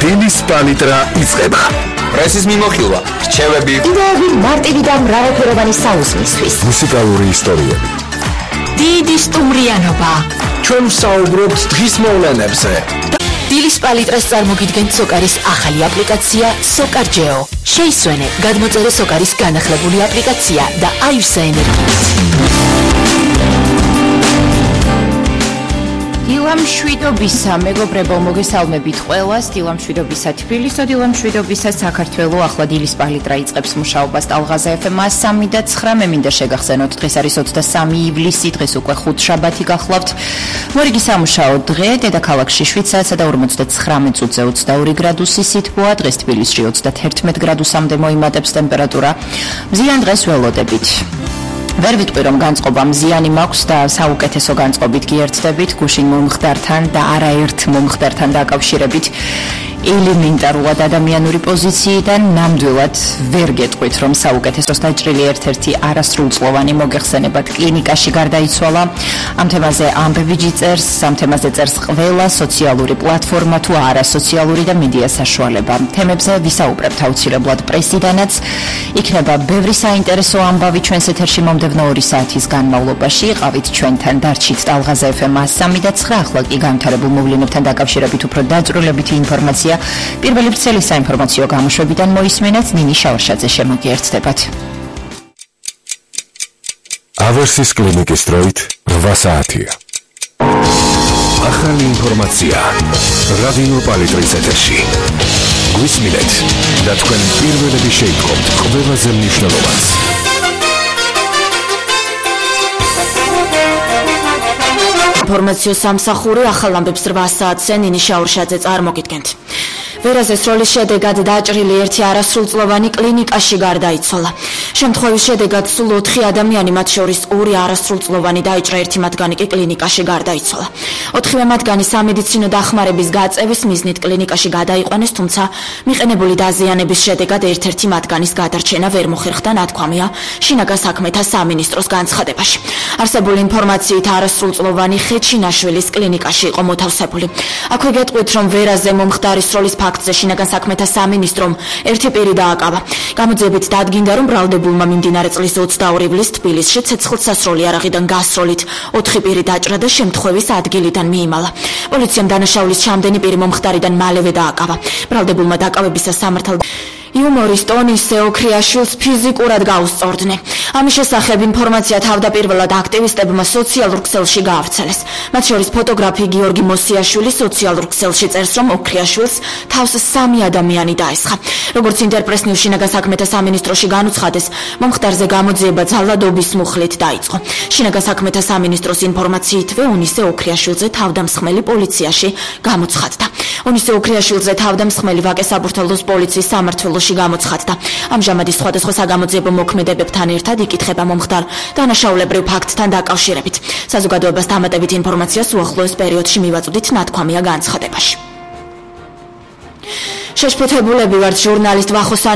დილის პალიტრა იწყება. პრესის მიმოხილვა, რჩევები, იდეები მარტივი და მრავალფეროვანი საუზმისთვის. მუსიკალური ისტორიები. დიდი სტუმრიანობა. ჩვენ ვსაუბრობთ დღის მოვლენებზე. დილის პალიტრას წარმოგიდგენთ სოკარის ახალი აპლიკაცია SOCARGEO. შეისვენე გადმოწერე სოკარის განახლებული აპლიკაცია და აივსე ენერგიით. დილამშვიდობისა, მეგობრებო, მოგესალმებით ყველას. დილამშვიდობისა თბილისო, დილამშვიდობისა საქართველო. ახლა დილის პალიტრა იწყებს მუშაობას ტალღაზე FM 103.9. მე მინდა შეგახსენოთ, დღეს არის 23 ივლისი, დღეს უკვე ხუთშაბათი გახლავთ. მორიგი სამუშაო დღე, დედაქალაქში 7 საათსა და 59 წუთზე 22 გრადუსი სითბოა, დღეს თბილისში 31 გრადუსამდე მოიმატებს ტემპერატურა. მზიან დღეს ველოდებით. ვერ ვიტყვი რომ განწყობა მზიანი მაქვს და საუკეთესო განწყობით გიერთდებით გუშინ მომხდართან და არაერთ მომხდართან დაკავშირებით ელემენტარულად ადამიანური პოზიციიდან ნამდვილად ვერ გეტყვით რომ საუკეთესოს დაჭრილი ერთ-ერთი არასრულწლოვანი მოგეხსენებათ კლინიკაში გარდაიცვალა. ამ თემაზე ამბებიჯი წერს, ამ თემაზე წერს ყველა სოციალური პლატფორმა თუ არასოციალური და მედია საშუალება. თემებზე ვისაუბრებთ აუცილებლად პრესიდანაც. იქნება ბევრი საინტერესო ამბავი ჩვენს ეთერში მომდევნო 2 საათის განმავლობაში. იყავით ჩვენთან დარჩით ტალღაზე FM 103.9. ახლა კი განვითარებულ მოვლენებთან დაკავშირებით უფრო დაწვრილებითი ინფორმაცია პირველი ვრცელი საინფორმაციო გამოშვებიდან მოისმენთ. ნინი შავარშაძე შემოგიერთდებათ. ავერსის კლინიკის დროით 8 საათია. ახალი ინფორმაცია რადიო პალიტრის ეთერში. გვისმინეთ და თქვენ პირველები შეიტყობთ ყველაზე მნიშვნელოვანს. ინფორმაციო სამსახური ახალ ამბებს 8 საათზე ნინი შავარშაძე წარმოგიდგენთ. ვერაზეს როლის შედეგად დაჭრილი ერთი არასრულწლოვანი კლინიკაში გარდაიცვალა. შემთხვევის შედეგად სულ 4 ადამიანი, მათ შორის 2 არასრულწლოვანი დაიჭრა, ერთი მათგანი კი კლინიკაში გარდაიცვალა. 4-ვე მათგანი სამედიცინო დახმარების გაწევის მიზნით კლინიკაში გადაიყვანეს, თუმცა მიყენებული დაზიანების შედეგად ერთ-ერთი მათგანის გადარჩენა ვერ მოხერხდა, ნათქვამია შინაგან საქმეთა სამინისტროს განცხადებაში. არსებული ინფორმაციით არასრულწლოვანი ხეჩინაშვილის კლინიკაში იყო მოთავსებული. აქვე გეტყვით, რომ ვერაზე მომხდარის როლის ფაქტზე შინაგან საქმეთა სამინისტრომ ერთი პირი დააკავა. გამოძიებით დადგინდა, რომ ბრალდებულმა მიმდინარე წლის 22 ივლისს თბილისში ცეცხლსასროლი არაღიდან გასროლით 4 პირი დაჭრა და შემთხვევის ადგილიდან მიიმალა. პოლიციამ დანაშაულის ჩამდენი პირი მომხდარიდან მალევე დააკავა. ბრალდებულმა დაკავებისას სამართალ იუმორისტ ონისე ოქრიაშვილს ფიზიკურად გაუსწორდნენ. ამის შესახებ ინფორმაცია თავდაპირველად აქტივისტებმა სოციალურ ქსელში გაავრცელეს. მათ შორის ფოტოგრაფი გიორგი მოსიაშვილი სოციალურ ქსელში წერს, რომ ოქრიაშვილს თავს 3 ადამიანი დაესხა. როგორც ინტერპრესნიუს შინაგან საქმეთა სამინისტროში განუცხადეს, მომხდარზე გამოძიება ძალადობის მუხლით დაიწყო. შინაგან საქმეთა სამინისტროს ინფორმაციითვე ონისე ოქრიაშვილზე თავდამსხმელი პოლიციაში გამოცხადდა. ონისე ოქრიაშვილზე თავდამსხმელი ვაკე საბურთალოს პოლიციის სამმართველოში გამოცხადდა. ამჟამად ის სხვადასხვა საგამოძიებო მოქმედებებთან ერთად იკითხება მომხდარ დანაშაულებრივ ფაქტთან დაკავშირებით. საზოგადოებას დამატებით ინფორმაციას უახლოეს პერიოდში მივაწვდით, ნათქვამია განცხადებაში. შეშფოთებულები ვართ ჟურნალისტ ვახოსან